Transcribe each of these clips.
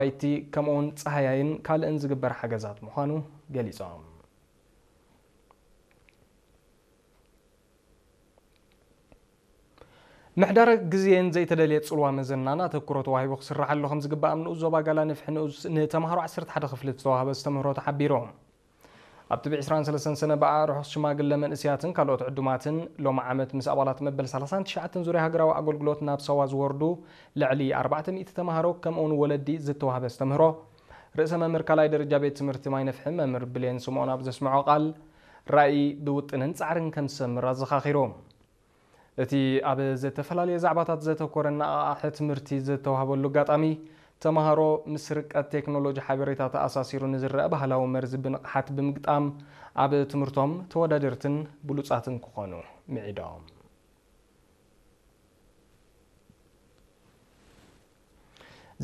ኣባይቲ ከምኡውን ጸሃያይን ካልእን ዝግበር ሓገዛት ምዃኑ ገሊጾም። ምሕዳረ ግዜን ዘይተደልየ ጽልዋ መዘናን ኣተኩሮ ተዋሂቡ ክስርሓሉ ከም ዝግባእ ኣብ ንኡስ ዞባ ጋላ ንፍሒ ንኡስ ንተምሃሮ ዓሰርተ ሓደ ክፍሊ ዝተዋህበ ኣስተምህሮ ተሓቢሩ። ኣብቲ ብ ዕስራን ሰለስተን ሰነ ብኣ ርሑስ ሽማግለ መንእስያትን ካልኦት ዕዱማትን ሎሚ ዓመት ምስ ኣባላት መበል ሰላሳን ትሽዓተን ዙርያ ሃገራዊ ኣገልግሎት ናብ ሳዋ ዝወርዱ ልዕሊ ኣርባዕተ ሚእቲ ተምሃሮ ከምኡውን ወለዲ ዝተዋህበ ኣስተምህሮ ርእሰ መምህር ካልኣይ ደረጃ ቤት ትምህርቲ ማይ ነፍሒ መምህር ብሌን ስምኦን ኣብ ዘስምዖ ቃል ራእይ ብውጥንን ጻዕርን ከም ዝሰምር ኣዘኻኺሩ። እቲ ኣብ ዝተፈላለየ ዛዕባታት ዘተኮረ ኣነቓቓሒ ትምህርቲ ዝተዋህበሉ ኣጋጣሚ፣ ተምሃሮ ምስ ርቀት ቴክኖሎጂ ሓበሬታ ተኣሳሲሩ ንዝረአ ባህላዊ መርዚ ብንቕሓት ብምግጣም ኣብ ትምህርቶም ተወዳደርትን ብሉጻትን ክኾኑ ምዒዶም።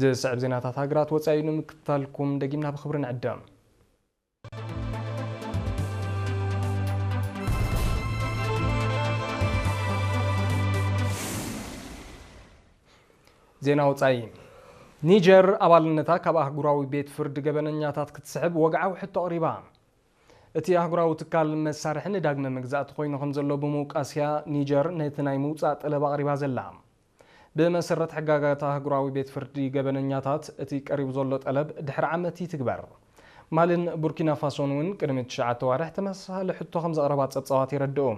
ዝስዕብ ዜናታት ሃገራት ወጻኢ ንምክትታልኩም ደጊምና ብኽብሪ ንዕደም። ዜና ወጻኢ። ኒጀር ኣባልነታ ካብ ኣህጉራዊ ቤት ፍርዲ ገበነኛታት ክትስሕብ ወግዓዊ ሕቶ ኣቕሪባ። እቲ ኣህጉራዊ ትካል መሳርሒ ንዳግመ መግዛእቲ ኮይኑ ከም ዘሎ ብምውቃስያ ኒጀር ነቲ ናይ ምውጻእ ጠለብ ኣቕሪባ ዘላ። ብመሰረት ሕጋጋት ኣህጉራዊ ቤት ፍርዲ ገበነኛታት እቲ ቀሪቡ ዘሎ ጠለብ ድሕሪ ዓመት ይትግበር። ማልን ቡርኪና ፋሶን እውን ቅድሚ ትሽዓተ ዋርሕ ተመሳሳሊ ሕቶ ከም ዘቕረባ ጸብጻባት የረድኡ።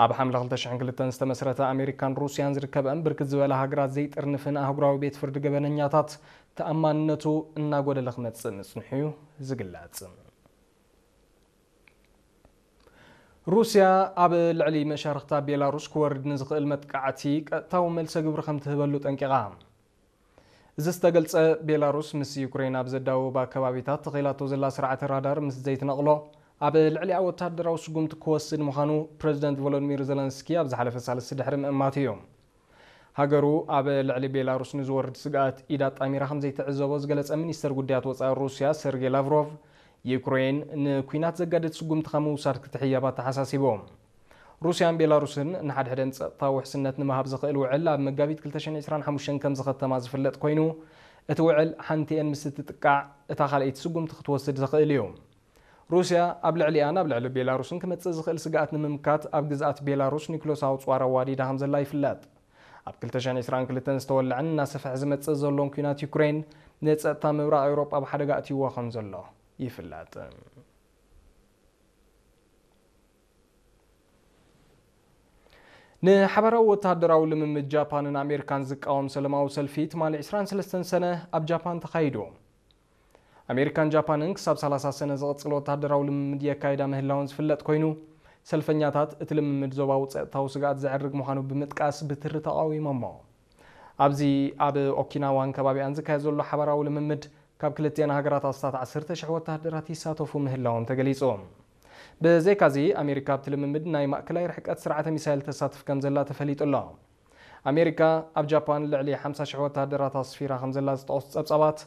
ኣብ ሓምለ ክልተ ሽሕን ክልተን ዝተመስረተ ኣሜሪካን ሩስያን ዝርከበን ብርክት ዝበላ ሃገራት ዘይጥርንፍን ኣህጉራዊ ቤት ፍርዲ ገበነኛታት ተኣማንነቱ እናጎደለ ክመጽእ ምጽንሑ እዩ ዝግለጽ። ሩስያ ኣብ ልዕሊ መሻርኽታ ቤላሩስ ክወርድ ንዝኽእል መጥቃዕቲ ቀጥታዊ መልሰ ግብሪ ከም ትህበሉ ጠንቂቓ። እዚ ዝተገልጸ ቤላሩስ ምስ ዩክሬን ኣብ ዘዳውባ ከባቢታት ተኺላቶ ዘላ ስርዓተ ራዳር ምስ ዘይትነቕሎ ኣብ ልዕሊኣ ወታደራዊ ስጉምቲ ክወስድ ምዃኑ ፕረዚደንት ቮሎዲሚር ዘለንስኪ ኣብ ዝሓለፈ ሳልስቲ ድሕሪ ምእማቱ እዩ። ሃገሩ ኣብ ልዕሊ ቤላሩስ ንዝወርድ ስግኣት ኢድ ኣጣሚራ ከም ዘይትዕዘቦ ዝገለጸ ሚኒስተር ጉዳያት ወጻኢ ሩስያ ሰርጌ ላቭሮቭ፣ ዩክሬን ንኲናት ዘጋድድ ስጉምቲ ካብ ምውሳድ ክትሕየብ ኣተሓሳሲቡ። ሩስያን ቤላሩስን ንሓድሕደን ጸጥታዊ ውሕስነት ንምሃብ ዝኽእል ውዕል ኣብ መጋቢት ክልተ ሽሕን ዕስራን ሓሙሽተን ከም ዝኸተማ ዝፍለጥ ኮይኑ፣ እቲ ውዕል ሓንቲኤን ምስ እትጥቃዕ እታ ካልኣይቲ ስጉምቲ ክትወስድ ዝኽእል እዩ። ሩስያ ኣብ ልዕሊኣን ኣብ ልዕሊ ቤላሩስን ክመጽእ ዝኽእል ስግኣት ንምምካት ኣብ ግዝኣት ቤላሩስ ኒኩለሳዊ ጸዋር ኣዋዲዳ ከም ዘላ ይፍለጥ። ኣብ ክልተ ሽሕን ዕስራን ክልተን ዝተወልዐን እናሰፍሐ ዝመጽእ ዘሎን ኲናት ዩክሬን ንጸጥታ ምብራቕ ኤውሮጳ ኣብ ሓደጋ ኣእትይዎ ከም ዘሎ ይፍለጥ። ንሓባራዊ ወተሃደራዊ ልምምድ ጃፓንን ኣሜሪካን ዝቃወም ሰለማዊ ሰልፊ ትማሊ ዕስራን ሰለስተን ሰነ ኣብ ጃፓን ተኻይዱ። ኣሜሪካን ጃፓንን ክሳብ ሰላሳ ሰነ ዝቕጽል ወተሃደራዊ ልምምድ የካይዳ ምህላወን ዝፍለጥ ኮይኑ፣ ሰልፈኛታት እቲ ልምምድ ዞባዊ ጸጥታዊ ስግኣት ዘዕርግ ምዃኑ ብምጥቃስ ብትሪ ተቓዊሞሞ። ኣብዚ ኣብ ኦኪናዋን ከባቢኣን ዝካየድ ዘሎ ሓባራዊ ልምምድ ካብ ክልቲኣን ሃገራት ኣስታት ዓሰርተ ሽሕ ወተሃደራት ይሳተፉ ምህላዎም ተገሊጹ። ብዘይካዚ ኣሜሪካ ኣብቲ ልምምድ ናይ ማእከላይ ርሕቀት ስርዓተ ሚሳይል ተሳትፍ ከም ዘላ ተፈሊጡ ኣሎ። ኣሜሪካ ኣብ ጃፓን ልዕሊ ሓምሳ ሽሕ ወተሃደራት ኣስፊራ ከም ዘላ ዝጠቕሱ ጸብጻባት፣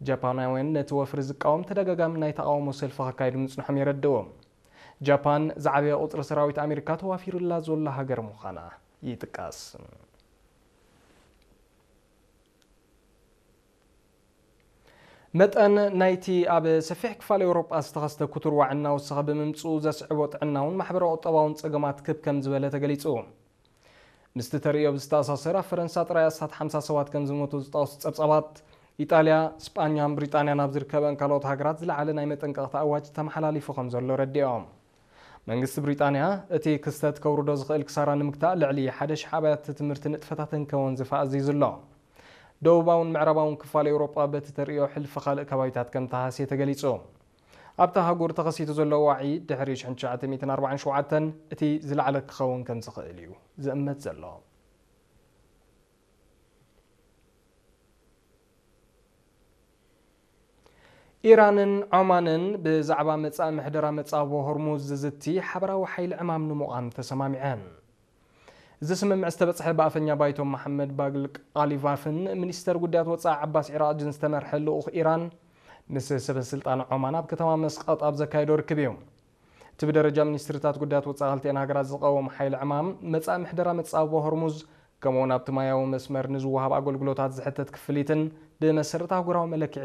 ጃፓናውያን ነቲ ወፍሪ ዝቃወም ተደጋጋሚ ናይ ተቓውሞ ሰልፊ ከካይዱ ምጽንሖም የረድኡ። ጃፓን ዝዓበየ ቁጽሪ ሰራዊት ኣሜሪካ ተዋፊሩላ ዘሎ ሃገር ምዃና ይጥቀስ። መጠን ናይቲ ኣብ ሰፊሕ ክፋል ኤውሮጳ ዝተኸስተ ክቱር ዋዒ እናወሰኸ ብምምጽኡ ዘስዕቦ ጥዕናውን ማሕበራዊ ቁጠባውን ጸገማት ክብ ከም ዝበለ ተገሊጹ። ምስቲ ተርእዮ ብዝተኣሳሰር ኣብ ፈረንሳ ጥራይ ኣስታት ሓምሳ ሰባት ከም ዝሞቱ ዝጠቕሱ ጸብጻባት፣ ኢጣልያ፣ ስጳኛን ብሪጣንያን ኣብ ዝርከበን ካልኦት ሃገራት ዝለዓለ ናይ መጠንቀቕታ ኣዋጅ ተመሓላሊፉ ከም ዘሎ ረዲኦም። መንግስቲ ብሪጣንያ እቲ ክስተት ከውርዶ ዝኽእል ክሳራ ንምግታእ ልዕሊ ሓደ ሽሕ ኣብያተ ትምህርቲ ንጥፈታተን ከወንዝፋ ኣዚዙ ኣሎ። ደቡባውን ምዕራባውን ክፋል ኤውሮጳ በቲ ተርእዮ ሕልፊ ካልእ ከባቢታት ከም ተሃስየ ተገሊጹ። ኣብታ ኣህጉር ተኸሲቱ ዘሎ ዋዒ ድሕሪ ሽሕን ትሽዓተ ሚእትን ኣርባዓን ሸውዓተን እቲ ዝለዓለ ክኸውን ከም ዝኽእል እዩ ዝእመት ዘሎ። ኢራንን ዖማንን ብዛዕባ መጻኢ ምሕደራ መጻብቦ ሆርሙዝ ዝዝቲ ሓበራዊ ሓይሊ ዕማም ንምቋም ተሰማሚዐን። እዚ ስምምዕ ዝተበጽሐ ብኣፈኛ ባይቶ መሓመድ ባግል ቃሊቫፍን ሚኒስተር ጉዳያት ወጻኢ ዓባስ ዒራቕጅን ዝተመርሐ ልኡኽ ኢራን ምስ ሰበ ስልጣን ዖማን ኣብ ከተማ መስቀጥ ኣብ ዘካየዶ ርክብ እዩ። እቲ ብደረጃ ሚኒስትርታት ጉዳያት ወጻኢ ክልቲአን ሃገራት ዝቐወም ሓይሊ ዕማም መጻኢ ምሕደራ መጻብቦ ሆርሙዝ ከምኡውን ኣብቲ ማያዊ መስመር ንዝወሃብ ኣገልግሎታት ዝሕተት ክፍሊትን ብመሰረት ኣህጉራዊ መለክዒ